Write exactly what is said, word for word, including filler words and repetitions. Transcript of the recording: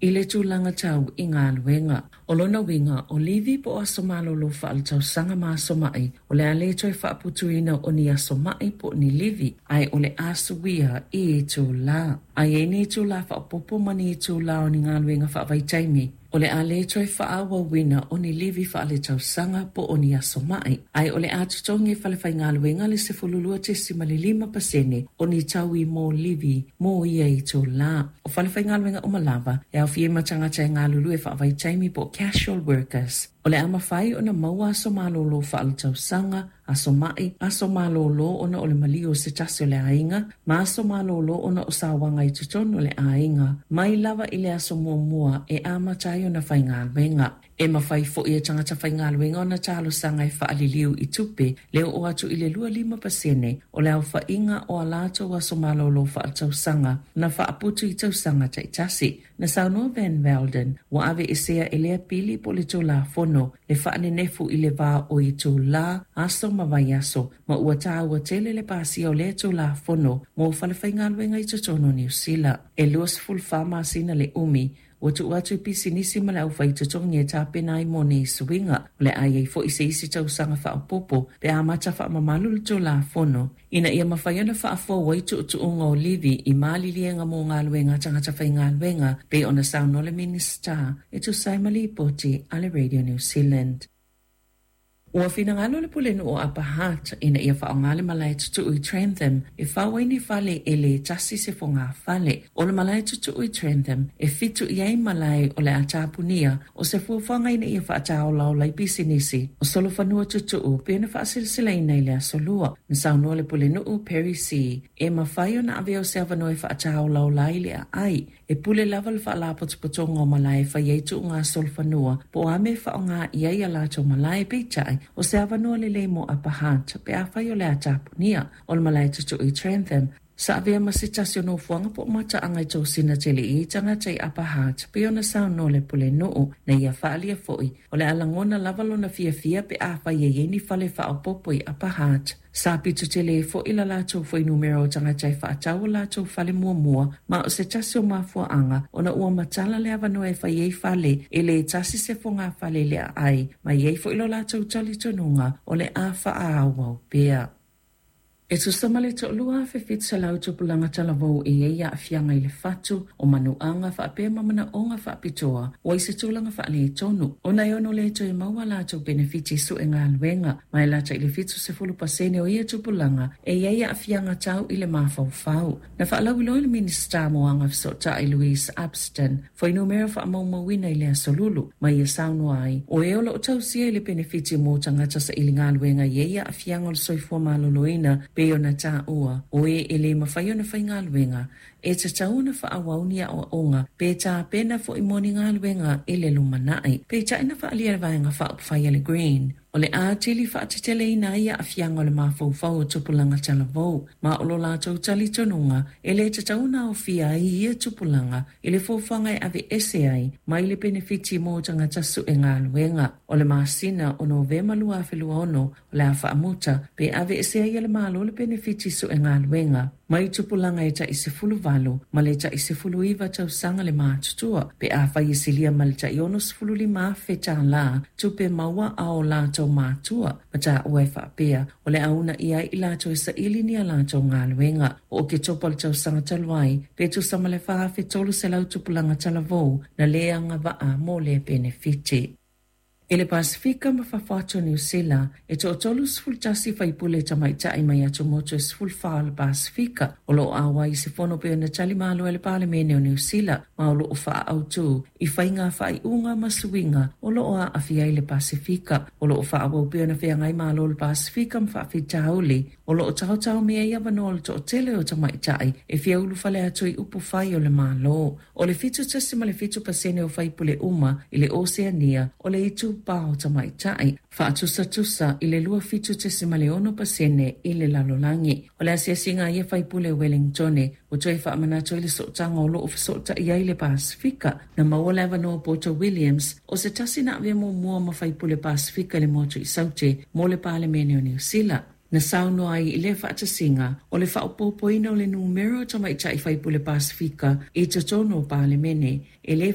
i le tulaga tau i galuega. O lona uiga, o livi po o aso malolo faaletausaga ma aso ma'i, o le a le toe faaputuina o ni aso ma'i po o ni livi, ae o le a suia i itulā. A i ai ni itulā faaopoopo ma ni itulā o ni galuega faavaitaimi, o le a le toe faaauauina o ni livi faaletausaga po o ni aso ma'i, ae o le a totogi e falefaigaluega le sefululua tesima le lima pasene o ni taui mo livi mo ia itulā. O falefaigaluega uma lava e aofia ai ma tagata e galulue faavaitaimi po o casual workers, o le a mafai ona maua aso malolo faaletausaga, aso ma'i, aso malolo ona o le maliu o se tasi o le aiga, ma aso malolo ona o sauaga i totonu o le aiga, mai lava i le aso muamua e amata ai ona faigaluega. E mafai foi e tagata faigaluega ona talosaga e faaliliu i tupe le oo atu i le lua lima pasene o le aofaiga o a latou aso malolo faaletausaga na faaputu i tausaga taitasi. Na saunoa Van Velden ua aveesea e lea pili po o le Tulafono le faanenefu i le va o itulā, aso ma vaiaso, ma ua taua tele le pasia o lea Tulafono mo falefaigaluega i totonu o Niu Sila. E luasefulufa masina le umi ua tuu atu i pisinisi ma le aufaitotogi e tapena ai mo nei suiga. O le a i ai foi se isi tausaga faaopoopo pe a amata faamamalu le Tulafono ina ia mafai ona faafou ai tuutuuga o livi i maliliega mo galuega a tagata faigaluega pei ona saunoa le Minisita e tusa ai ma lipoti a le Radio New Zealand. Ua finagalo le Pulenuu o Upper Hutt ina ia faaaoga le malae tutuu i Trentham e fau ai ni fale e le tasi se fogafale. O le malae tutuu i Trentham e fitu i ai malae o le a tapunia o se fuafuaga ina ia faataolaola ai pisinisi o solofanua tutuu pei ona faasilasilaina i le aso Lua. Na saunoa le Pulenuu Perry C e mafai ona avea o se avanoa e faataolaola ai le aai e pule lava le faalapotopotoga o malae e fai ai tuuga solofanua po o a mea e faaaoga i ai a latou malae, peitai o se avanoa lelei mo Upper Hutt pe afai o le a tapunia. O le malae tutuu i Trentham sa avea ma se tasi o nofoaga po o mataaga i tosina tele i ai tagata i Upper Hutt pei ona saunoa le Pulenuu. Na ia faaalia foi o le a lagona lava lona fiafia pe afai e i ai ni fale faaopoopo i Upper Hutt. Sa pito tele foi la latou fuainumera o tagata e faatau o latou fale muamua, ma o se tasi o mafuaaga ona ua matala le avanoa e fai ai fale e le tasi se fogafale i le aai, ma i ai foi lo latou talitonuga o le a faaauau pea. E tusa ma le toalua afe fitu selau tupulaga talavou e i ai aafiaga i le fatu o manuaga faapea ma manaoga faapitoa ua i se tulaga faaletonu ona e ono le toe maua latou penefiti sue galuega, ma e lata i le fitu sefulu pasene o ia tupulaga e i ai aafiaga tau i le mafaufau. Na faalauiloa le Minisita mo Agafesootai Louise Upston fuainumera faamaumauina i le aso Lulu, ma ia saunoa ai o e o loo tausia i le penefiti mo tagata saili galuega i ai aafiaga o le soifua maloloina pei ona taua o e e le mafai ona faigaluega e tatau ona faaauau ni aoaoga pe tapena foi mo ni galuega i le lumanai. Peitai na faaalia le Vaega Faaupufai a le Green o le a tili faateteleina ai aafiaga o le mafaufau o tupulaga talavou, ma o lo latou talitonuga e le tatau ona aofia ai ia tupulaga i le fuafuaga e aveese ai mai le penefiti mo tagata sue galuega. O le masina o Novema lua afe lua ono o le a faamuta pe aveese ai e le Malo le penefiti sue galuega mai tupulaga e tai sefulu valu ma le tai sefulu iva tausaga le matutua pe afai e silia ma le tai ono sefulu lima afe tālā tupe maua a o latou matua, ma taua e faapea o le a uunaia ai i latou e saili ni a latou galuega. O Oketopa o le tausaga talu ai pe tusa ma le fa afe tolu selau tupulaga talavou na le agavaa mo lea penefiti. I le Pasifika ma fafo atu o Niu Sila, e toatolu sefulu tasi faipule tamaitai mai atumotu e sefulu fa o le Pasifika o loo auai i se fono pei ona tali malo e le Palemene o Niu Sila, ma o loo faaautu i faiga faaiuga ma suiga o loo aafia ai le Pasifika. O loo faaauau pea ona feagai malo le Pasifika ma faafitauli o loo taotaomia ai avanoa o le toatele o tamaitai e fia ulufale atu i upufai o le Malo. O le fitu tasi ma le fitu pasene o faipule uma i le Oseania o le itupa o tamaitai, faatusatusa i le lua fitu tesima le ono pasene i le lalolagi. O le asiasiga a ia faipule Wellingtone ua toe faamanatu ai le sootaga o loo fesootai ai le Pasifika. Na maua le avanoa Poto Williams o se tasi na avea muamua ma faipule Pasifika i le motu i Saute mo le Palemene o Niu Sila. Na saunoa ai i lea faatasiga o le faaopoopoina o le numera o tamaitai faipule Pasifika i totonu o Palemene e le